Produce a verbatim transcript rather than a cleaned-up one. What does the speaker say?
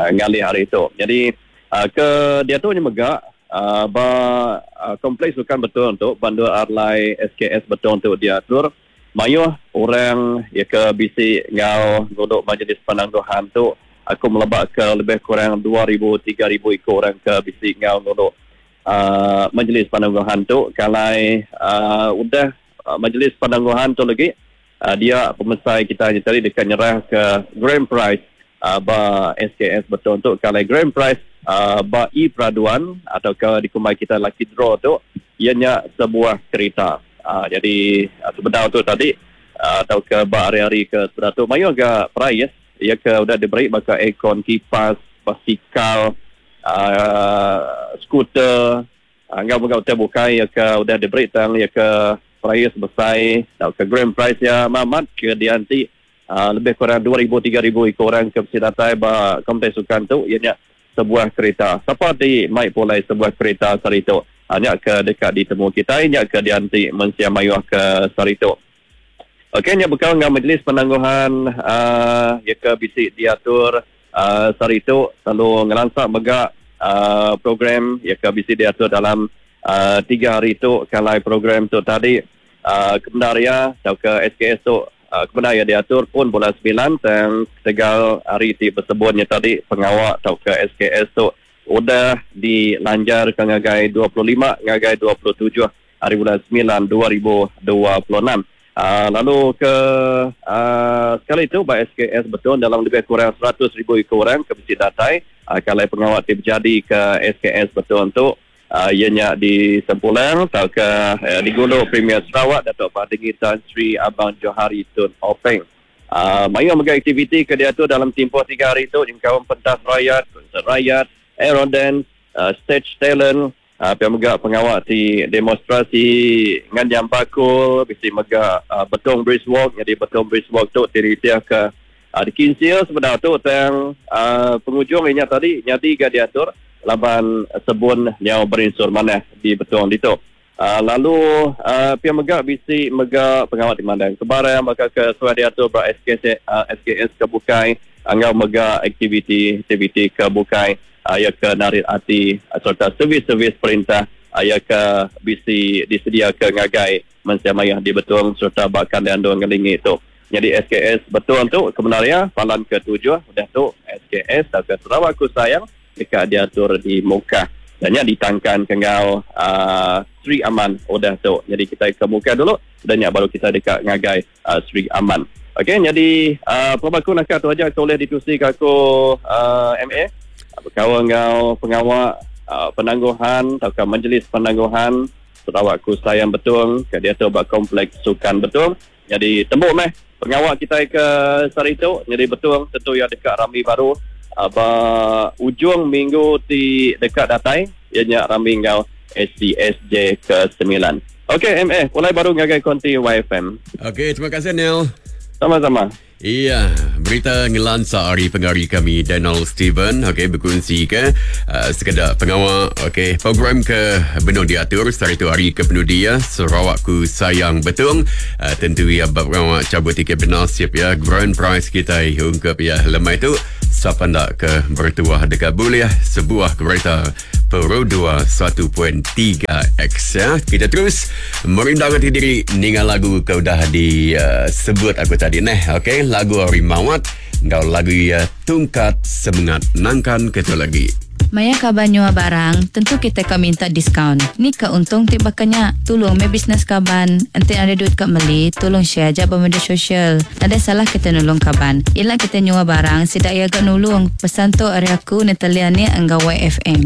uh, ngalih hari tu. Jadi uh, ke dia tu mega uh, ba uh, kompleks sukan Betong tu Bandar Arlai S K S Betong tu diatur mayuh orang ya ke bisi ngau nguduk majlis penangguhan tu aku melebak ke lebih kurang dua ribu tiga ribu ikut orang ke bisi ngau nguduk uh, majlis penangguhan tu kalai uh, udah uh, majlis penangguhan tu lagi uh, dia pemesai kita tadi dekat nyerah ke grand prize uh, ba S K S Betong tu kalai grand prize uh, ba e peraduan atau ke dikumai kita lucky draw tu ianya sebuah kereta. Uh, jadi uh, sebentar tu tadi uh, atau ke ba hari-hari ke sebenar tu mayu agak prize ia ke udah diberi baka aircon, kipas, basikal, uh, skuter, uh, ngau ngau hotel bukai ia ke udah diberi tang ia ke prize besar atau ke grand prize ya mamat ke dianti uh, lebih kurang dua ribu tiga ribu ikut orang ke datai ba kompleks sukan tu ianya sebuah kereta. Siapa di mai pulai sebuah kereta sari tu? Hanya ke dekat ditemu kita, hanya ke dianti mensia mayuh ke sari tu. Okey, nya bekal dengan majlis penangguhan uh, ya ke bisi diatur uh, sari tu lalu ngelansak megak uh, program ya ke bisi diatur dalam uh, tiga hari tu kalai program tu tadi uh, kebenaria atau ke S K S tu uh, kebenaria diatur pun bulan sembilan dan tegal hari ti bersebutnya tadi pengawak atau ke S K S tu udah dilanjar ke ngagai dua puluh lima ngagai dua puluh tujuh hari bulan sembilan dua ribu dua puluh enam. Uh, lalu ke uh, sekali itu by S K S betul dalam lebih kurang seratus ribu ekor orang ke mesti datai uh, kalau pengawal ti berjadi ke S K S betul untuk uh, ianya di Sempulang atau ke uh, di Gulu Premier Sarawak Datuk Patinggi Tan Sri Abang Johari Tun Openg. Uh, mayu mega aktiviti ke dia tu dalam tempoh tiga hari tu jengkawan pentas rakyat, konsert rakyat, aero dance, uh, stage talent, uh, pihak mega pengawal di demonstrasi nganyam bakul, bisi mega uh, Betong Bridge Walk, jadi Betong Bridge Walk tu diritia ke uh, di Kinsil sebenar tu tang uh, penghujung inya tadi nyadi ga diatur laban sebun nyau berinsur manah di Betong ditu. Uh, lalu uh, pihak mega bisi mega pengawal di mandang kebarang maka ke suai diatur ba S K S, uh, S K S ke bukai angau mega aktiviti-aktiviti ke bukai ayah ke narit hati serta servis-servis perintah ayah ke bisi disediakan ngagai mensia mayah di Betong serta bahkan di andung ngelingi tu. Jadi S K S Betong tu kebenarnya palan ketujuh udah tu S K S atau ke Sarawakku Sayang dekat diatur di Mukah. Dan nya ditangkan kengau uh, Sri Aman udah tu. Jadi kita ke Mukah dulu dan nya baru kita dekat ngagai uh, Sri Aman. Okey, jadi uh, pelabaku nak tu aja boleh ditusi ke aku uh, M A. Berkawan dengan pengawal uh, penangguhan atau ke majlis penangguhan Sarawakku Sayang Betong ke dia tu buat kompleks sukan Betong. Jadi tembuk meh pengawal kita ke sari tu jadi Betong tentu yang dekat Ramli baru uh, ba ujung minggu di dekat datai ianya Ramli ngau S C S J ke sembilan. Okey M A, mulai baru ngagai konti Y F M. Okey, terima kasih Neil. Sama-sama. Iya, berita ngelansa hari pengari kami Daniel Steven, okey berkongsi ke uh, sekedar pengawal, okey program ke benar diatur sehari tu hari ke penudi ya Sarawakku Sayang Betong, uh, tentu ya pengawal cabut tiket bernasib ya grand prize kita ungkap ya lemai tu siapa nak ke bertuah dekat boleh sebuah kereta Perodua satu titik tiga X ya. Kita terus merindang hati diri ningal lagu ke udah disebut uh, aku tadi neh. Okey, lagu Hari Mawat ngau lagu ya Tungkat Semangat nangkan ketu lagi. Maya kaban nyua barang, tentu kita ka minta diskaun. Ni ka untung ti bakanya. Tolong me bisnes kaban. Enti ada duit ka meli, tolong share aja ba media sosial. Ada salah kita nulung kaban. Ila kita nyua barang, sidak ia gak nulung. Pesan tu ari aku Natalia ni enggau Y F M.